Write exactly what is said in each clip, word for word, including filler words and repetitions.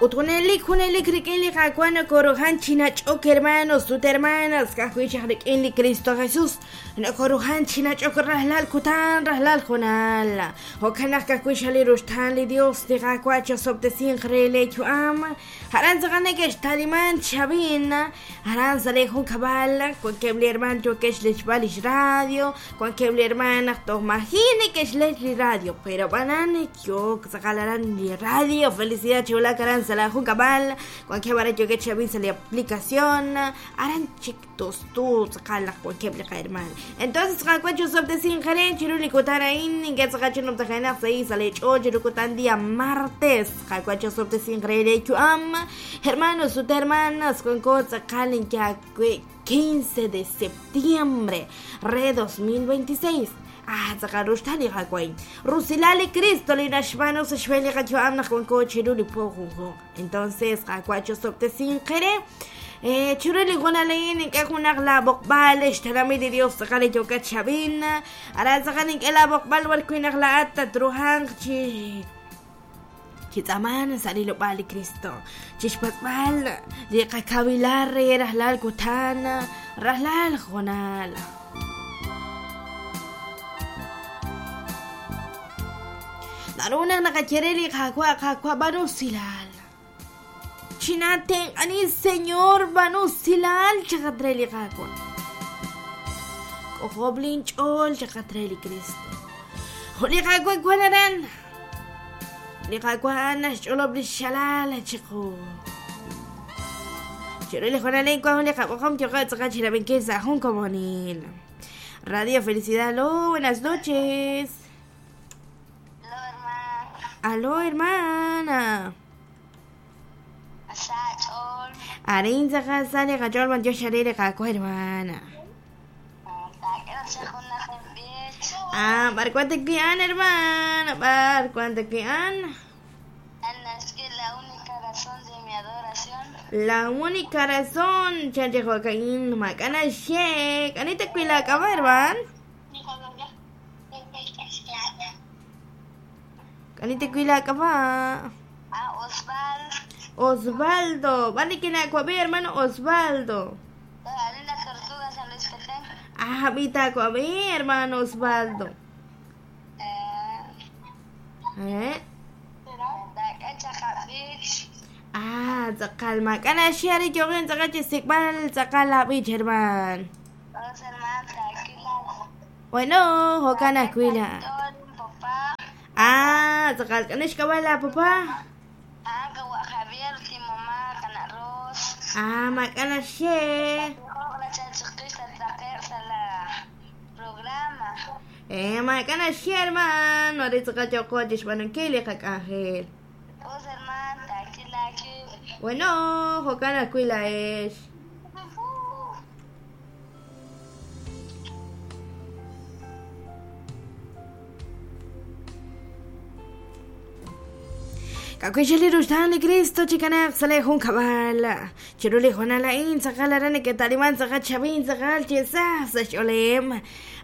Ut junelik junelik rik'in li Qaawa' nokoruhan chi nach'ok hermanos ut hermanas ka'ajwi' chaq rik'in li Cristo Jesus nokoruhan chi nach'ok rajlal kutan rajlal junal jo'kan naq ka'ajwi' xal li ruxtaan li Dios li Qaawa' chosob'tesinq re le yu'am aran tz'aqal neke'xtaliman chab'in aran sa' le junkab'al wankeb' li herman yookeb' xlechb'al lix radio wankeb' li herman naq toj maji' neke'xlech li radio pero b'anan yook tz'aqal aran li radio felicidad chiwulak aran sa' la junkab'al wankeb' aran yookeb' chab'in sa' li aplicación aran chik tustu tz'aqal naq wankeb' li qaherman entonces Qaawa' chosob'tesinq re chiru li kutan a'in ink'a' tz'aqal chinumtajenaq sa' sa' le ch'ool chiru kutan día martes Qaawa' chosob'tesinq re le yu'am hermanos ut hermanas wanko tz'aqal ink'a' quince de septiembre re dos mil veintiséis. Ah, tz'aqal ruxtaan li Qaawa' rusilal li Cristo li naxb'aanu sa' xb'een li qayu'am naq wanko chiru li po junjunq entonces Qaawa' chosob'tesinq re eh chiru li junal a'in ink'a' junaq la b'oqb'al xtenamit li Dios tz'aqal li yookat xab'in aran tz'aqal ink'a' la b'oqb'al b'arwi' naq laa'at tatruhanq chi chitz'aman sa' rilob'aal li Cristo chixpatz'b'al li qakawilar re rajlal kutan rajlal junal naru naq naqaye li Qaawa' Qaawa' b'aanu usilal chinatenq'ani Señor b'aanu usilal chaqat re li Qaawa' k'ojob' linch'ool chaqat re li Cristo jo' li Qaawa' wan aran li Qaawa' naxch'olob' li xalal chiqu chiru li junal wan li qab'oqom yo'qeb' tz'aqal chirab'inkil sa' jun komonil Radio Felicidad. Aló, buenas noches. Aló, hermana. Arin tz'aqal sa' li qach'ool b'antiox re li Qaawa' hermana. Ah, b'ar wan te hermana, b'ar wan te Es que la única razón de mi adoración. La única razón, chanche Joaquín, macana shek. Anita cuila acaba, hermano. Anita cuila acaba. Ah, Osvaldo. Osvaldo. Vale, que na cuabe, hermano Osvaldo. Ah, vita cuabe, hermano Osvaldo. Eh. Ah, tz'aqal mak'ana xiari yoqin tz'aqal chisikb'al tz'aqal la b'ich herman. Bueno, jo'kan ajwi' la. Ah, tz'aqal k'anix k'ab'a la papá. Ah, mak'ana xie. Eh, mak'ana xie herman, ari tz'aqal yoqo chixb'anunkil li qak'anjel. Bueno, jo'kan ajwi' la'ex. K'ak'uixel li ruxtaan li Cristo chikanaq sa' le jun kab'al chiru li junal a'in tz'aqal aran neke'taliman tz'aqal chab'in tz'aqal chesaj sa' xch'oolem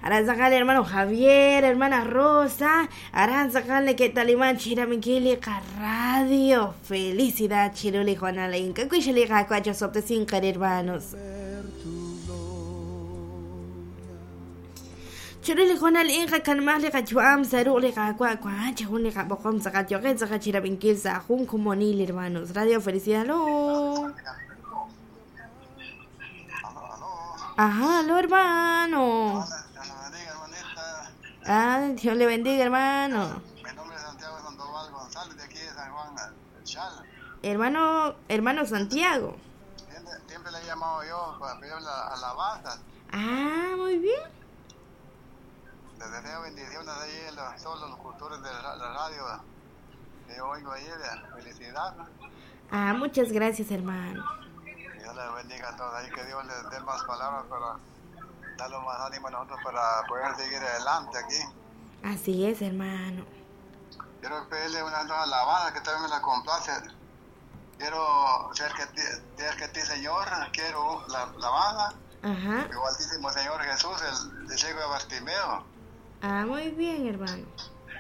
aran tz'aqal hermano Javier, hermana Rosa aran tz'aqal neke'taliman chiraminkil li qarradio Felicidad chiru li junal a'in k'ak'uixel li Qaawa' chosob'tesinq hermanos. Chiru li junal a'in qakanmaj li qayu'am sa' ruq' li Qaawa' wan chi jun li qab'oqom tz'aqal yoqen tz'aqal chirab'inkil sa' jun komonil hermanos. Radio Felicidad, aló. Ajá, aló hermano. Ah, Dios le bendiga, hermano. Mi nombre es Santiago Sandoval González, de aquí de San Juan Chal. Hermano, hermano Santiago. Siempre, siempre le he llamado yo para pedir la alabanza. Ah, muy bien. Les deseo bendiciones ahí a los, todos los locutores de la, la radio que yo oigo ahí, de felicidad. Ah, muchas gracias, hermano. Dios les bendiga a todos ahí, que Dios les dé más palabras para darle más ánimo a nosotros para poder seguir adelante aquí. Así es, hermano. Quiero pedirle una alabanza que también me la complace. Quiero ser que ti, ser que ti, Señor, quiero la alabanza. Ajá. Igualísimo Señor Jesús, el, el ciego de Bartimeo. Ah, muy bien, hermano.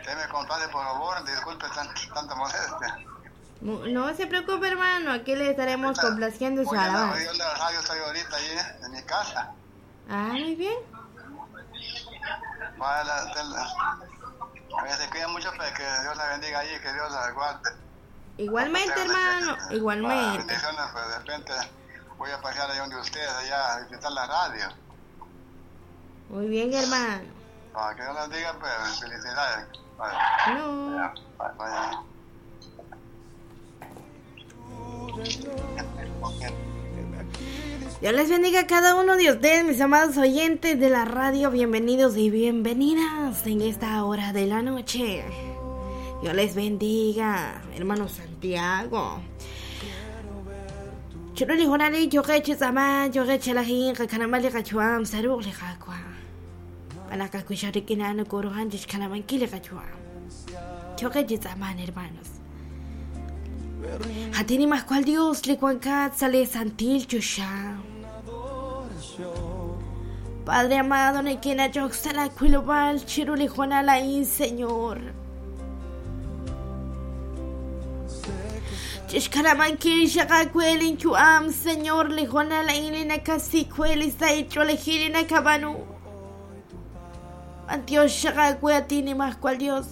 Usted me complace, por favor, disculpe tan, tanta molestia. No se preocupe, hermano, aquí le estaremos complaciendo su alabanza. Yo la radio estoy ahorita ahí en mi casa. Ah, muy bien. Bueno, la, se cuida mucho para que Dios la bendiga ahí, que Dios la guarde. Igualmente, hermano, igualmente. Bendiciones, pues de repente voy a pasar ahí donde ustedes, allá a visitar la radio. Muy bien, hermano. Para que Dios la bendiga, pues felicidades. Vale. No. Ya, vaya. Dios les bendiga a cada uno de ustedes, mis amados oyentes de la radio. Bienvenidos y bienvenidas en esta hora de la noche. Dios les bendiga, hermano Santiago. Churuli jonali, yogeche zaman, yogeche lajin, kakanamali kachuam, saruk lejakua. Panakakusharikinano korohan, chishkanamanki lekachuam. Yogeche zaman, hermanos. Hatini mascual Dios, licuancat, sale santil chusha. Padre amado, nequena yoxala cuilobal, chiruli jonalain, Señor. Chishkaramanki, shakakuelin chuam, Señor, lijonalain, linakasikueli, saicholegiri, nakabanu. Antioch, shakakuatini mascual Dios.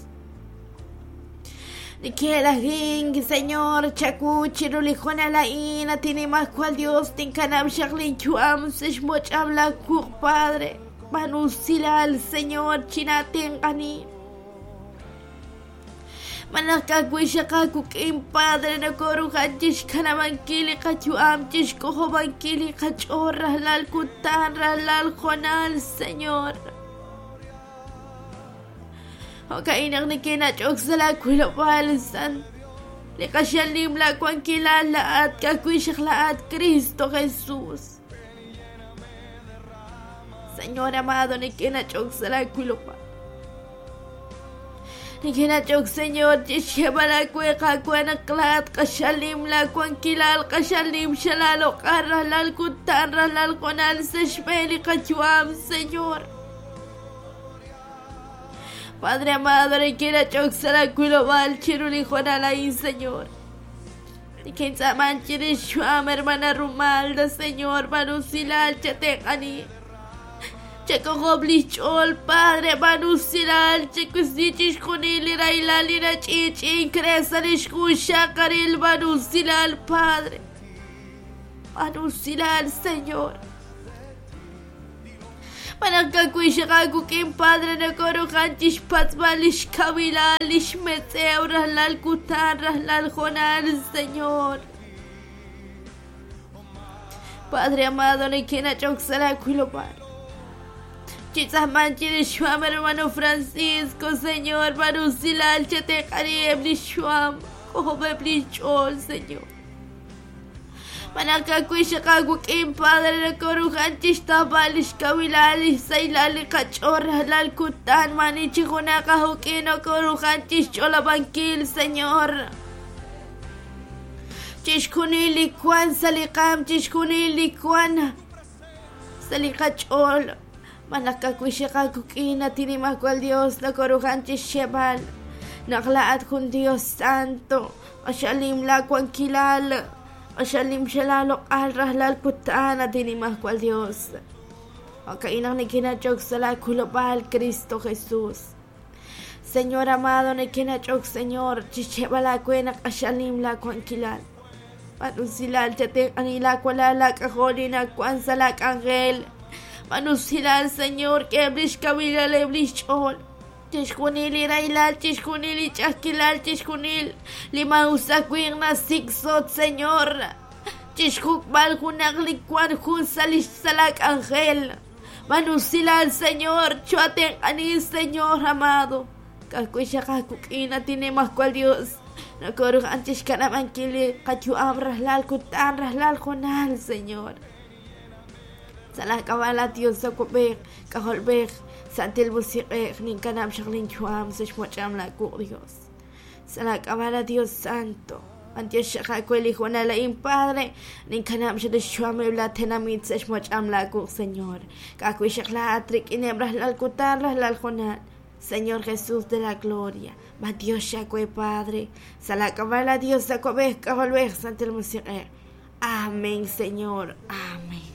Nikelajin, Señor, chaku, chirulijona la ina, tiene más cual Dios, tinkanam shaklin chuam, sishmoch habla kuk, Padre, manusila al Señor, chinatingani. Manakakuishakakukin, Padre, nakorujan, chishkanamankili, kachuam, chishkojobankili, kachorra, lal kutan, lal jonal, Señor. Okainak ni kinachok sa la kuilopalsan. Likasyalim la kuankilala at kakuishak la at Cristo Jesús. Señor amado, ni kinachok sa la kuilopal. Ni kinachok, Señor, chisheba la kueka kuanaklat kasyalim la kuankilal kasyalim shalalok aralal kutan ralal konal seshmeli kachuam, Señor. Padre amado, quiera choxara cuilobal, chiruli juanalain, Señor. Y quien saman chirishuam, hermana Rumalda, Señor, manusilal, chatecani. Checojoblichol, Padre, manusilal, checusichis junil, irailalina, chich, incresan, ishkushakaril, manusilal, Padre. Manusilal, Señor. Manakakuishakakukin, Padre, nakorojan, chishpatzbalish, kabilalish, metzeu, raslal, kutan, raslal, jonal, Señor. Padre amado, nekena choxara, cuilopar. Chitzahman, chirishuam, hermano Francisco, Señor, manusilal, chatecari, eblishuam, cojobeblichol, Señor. Manakakuishakakukin, Padre, nakorujan, chishtabalish, kabilalish, sailali, kachorra, lal, kutan, manichijunakajukin, nakorujan, chischolabankil, Señor. Chishkunili, kwan, salikam, chishkunili, kwan, salikachol. Manakakuishakakukin, atinimakual Dios, nakorujan, chishebal. Naklaat kun Dios Santo, ashalim la kuankilal. Ashalim shalalok al rahlal kutan atinimascual Dios. Okainak ni kinachok sala kulopal Cristo Jesús. Señor amado, ni kinachok, Señor, chichebala kuenak ashalim la kuankilal. Manusilal chaten anila kualala kajolina kuan salak angel. Manusilal, Señor, que eblish kabilal eblish chol. Chishkunil irailal, chishkunil ichakilal, chishkunil limausakuin siksot, Señor. Chishkukbal junaklikwan jun salish salak angel. Manusilal, Señor, chuaten ani, Señor amado. Kakuishakakukina tiene más cual Dios. Nakorujan chishkanamankili, kachuam raslal kutan raslal jonal, Señor. Salakabala Dios sakubek, kajolbek. Santil musiqeq ninkanam shaqlin chuam sishmocham la ku Dios. Salakabala Dios Santo. Antioshaqakueli juanalain Padre, ninkanam shadishuam ebla tenamit sishmocham la ku Señor. Kakuishaqla atrik inebras lal kutan raslal jonal. Señor Jesús de la gloria. Dios Yahweh Padre. Salakabala Dios Santel Amén, Señor. Amén.